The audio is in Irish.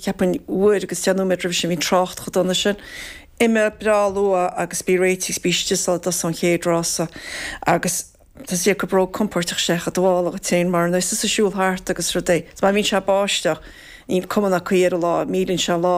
Cheapfainn uair agus 10 nóiméad roimhe sin, bhí an trácht chomh dona sin. Imigh breá luath agus bí réitithe is bí istigh sula dtosóidh an chéad rása agus tá 's ag go compóirteach sé chomh dubhálach duit féin mar nuair is tusa ag siúl thart agus rudaí. Is má bhíonn sé ag báisteach, níl cuma ná caoi ar an lá, milleann sé an lá.